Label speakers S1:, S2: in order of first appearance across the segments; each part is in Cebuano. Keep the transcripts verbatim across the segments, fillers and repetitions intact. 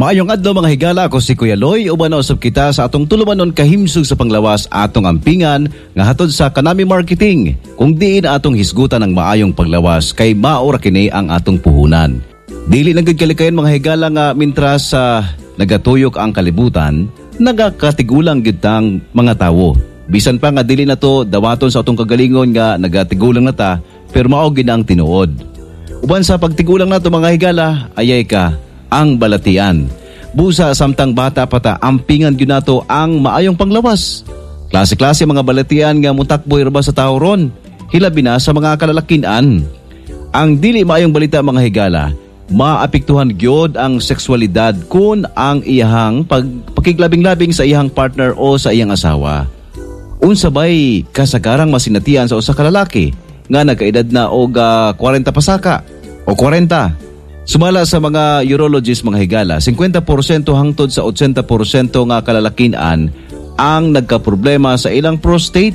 S1: Maayong adlaw, mga higala. Ako si Kuya Loy. Uban na usab kita sa atong tulumanon kahimsog sa panglawas, atong ampingan nga hatod sa Kanami Marketing. Kung diin atong hisgutan ang maayong panglawas kay mao ra kini ang atong puhunan. Dili na gud kalikayan, mga higala, nga mintras sa nagatuyok ang kalibutan, nagakatigulang gyud tang mga tawo. Bisan pa nga dili na to dawaton sa atong kagalingon nga nagatigulang na ta, pero mao gid ang tinuod. Uban sa pagtigulang nato, mga higala, ayay ka ang balatian. Busa samtang bata pa ta, ampingan gyud nato ang maayong panglawas. Klase-klase mga balatian nga mutakboy ra ba sa tao ron, hilabi na sa mga kalalakinan. Ang dili maayong balita, mga higala, maapektuhan gyud ang sexualidad kun ang iyahang pag pakiglabing-labing sa iyahang partner o sa iyang asawa. Unsa bay kasagarang masinatian sa usa ka lalaki nga nagkaedad na og ah, kwarenta pasaka o kwarenta? Sumala sa mga urologist, mga higala, singkwenta porsyento hangtod sa otsenta porsyento nga kalalakinan ang nagkaproblema sa ilang prostate.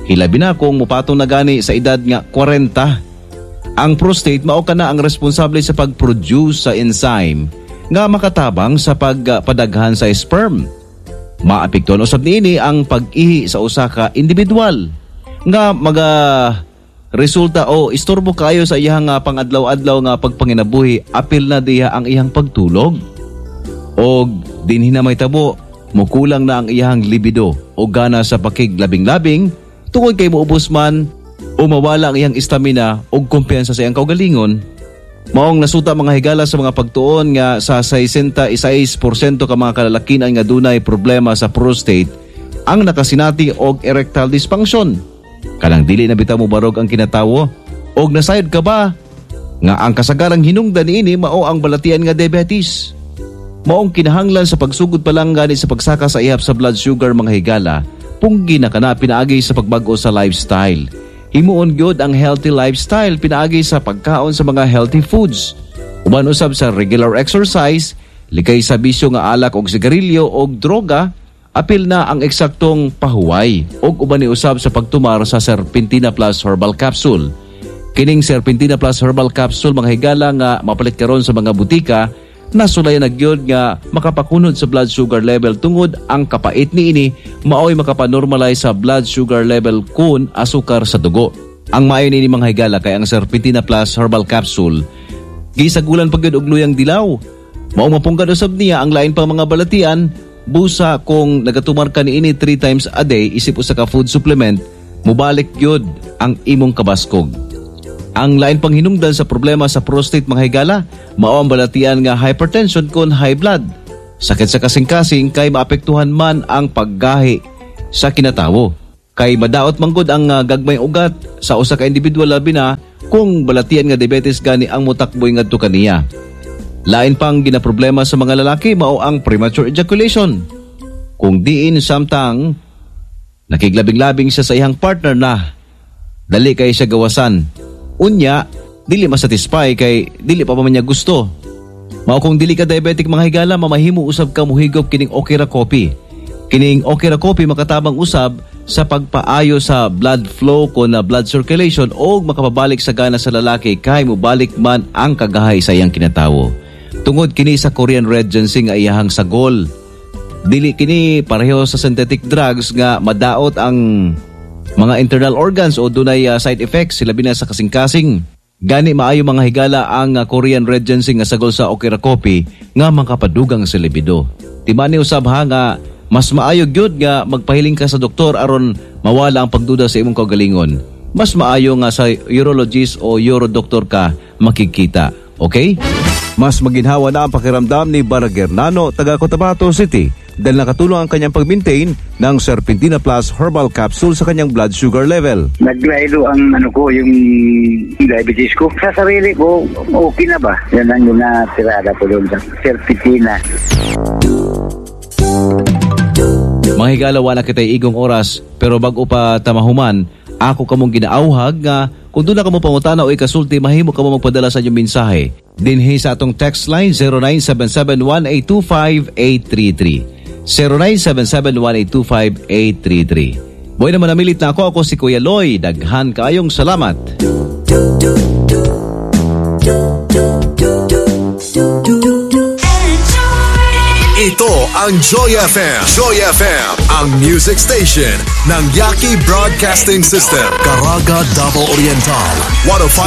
S1: Hilabi na kung mupatong na gani sa edad nga kwarenta. Ang prostate mao kana ang responsable sa pag-produce sa enzyme nga makatabang sa pagpadaghan sa sperm. Maapektuhan usab niini ang pag-ihi sa usa ka individual nga maga resulta o istorbo kayo sa iyang nga pangadlaw-adlaw nga pagpanginabuhi, apil na diha ang iyang pagtulog. Og dinhi na may tabo, mukulang na ang iyang libido o gana sa pakiglabing-labing tungod kay muubos man o mawala ang iyang stamina o kumpiyansa sa iyang kaugalingon. Maong nasuta, mga higala, sa mga pagtuon nga sa sesenta y sais porsyento ka mga kalalakian nga dunay problema sa prostate ang nakasinati og erectile dysfunction. Kanang dili na bitaw mo barog ang kinatawo. Og nasayod ka ba nga ang kasagarang hinungdan niini mao ang balatian nga diabetes? Maong kinahanglan sa pagsugod pa lang gani sa pagsaka sa ihap sa blood sugar, mga higala, punggi na kana pinaagi sa pagbago sa lifestyle. Himuon gyud ang healthy lifestyle pinaagi sa pagkaon sa mga healthy foods. Uban usab sa regular exercise, likay sa bisyo nga alak og sigarilyo og droga, apil na ang eksaktong pahuway og uban ni usab sa pagtumar sa Serpentina Plus Herbal Capsule. Kining Serpentina Plus Herbal Capsule, mga higala, nga mapalit karon sa mga butika, nasulayan na gyud nga makapakunod sa blood sugar level tungod ang kapait niini maoy makapanormalize sa blood sugar level kun asukar sa dugo. Ang maayo niini, mga higala, kay ang Serpentina Plus Herbal Capsule gisagulan pa gyud og luyang dilaw. Mao mapunggan usab niya ang lain pang mga balatian busa kung nagatumar ka niini three times a day isip usa ka food supplement, mubalik gyud ang imong kabaskog. Ang lain pang hinungdan sa problema sa prostate, mga higala, mao ang balatian nga hypertension kon high blood. Sakit sa kasing-kasing kay maapektuhan man ang paggahi sa kinatawo. Kay madaot manggod ang uh, gagmay ugat sa usa ka individual, labi na kung balatian nga diabetes gani ang mutakboy ngadto kaniya. Lain pang ginaproblema sa mga lalaki mao ang premature ejaculation. Kung diin samtang nakiglabing-labing siya sa iyang partner na dali kay siya gawasan. Unya, dili masatisfy kay dili pa man niya gusto. Mao kung dili ka diabetic, mga higala, mamahimo usab ka muhigop kining Okra Coffee. Kining Okra Coffee makatabang usab sa pagpaayo sa blood flow ko na blood circulation o makapabalik sa gana sa lalaki kay mobalik man ang kagahay sa iyang kinatawo. Tungod kini sa Korean Red Ginseng nga iyahang sagol. Dili kini pareho sa synthetic drugs nga madaot ang mga internal organs o dunay uh, side effects, hilabi na sa kasing-kasing. Gani maayo, mga higala, ang uh, Korean Red Ginseng nga sagol sa Okra Coffee nga makapadugang sa libido. Timani usab ha nga mas maayo gyud nga magpahiling ka sa doktor aron mawala ang pagduda sa imong kaugalingon. Mas maayo nga sa urologist o urodoktor ka makikita. Okay? Mas maginhawa na ang pakiramdam ni Baragernano, taga Cotabato City, dahil nakatulong ang kanyang pag-maintain ng Serpentina Plus Herbal Capsule sa kanyang blood sugar level.
S2: Naglaylo ang ano ko, yung diabetes ko. Sa sarili ko, okay na ba? Yan ang tirada ko doon sa Serpentina.
S1: Mga higala, wala kita'y igong oras, pero bago pa tamahuman, ako kamong ginaauhag nga kung duna kamo pangutana o ikasulti, mahimo kamo magpadala sa inyong mensahe dinhi sa atong text line zero nine seven seven, one eight two five, eight three three, zero nine seven seven, one eight two five, eight three three. Boy naman namilit na ako. Ako si Kuya Loy. Daghan kaayong salamat.
S3: Enjoy. Ito ang Joy F M. Joy F M, ang music station ng Yaki Broadcasting System. Caraga, Davao Oriental, one oh five.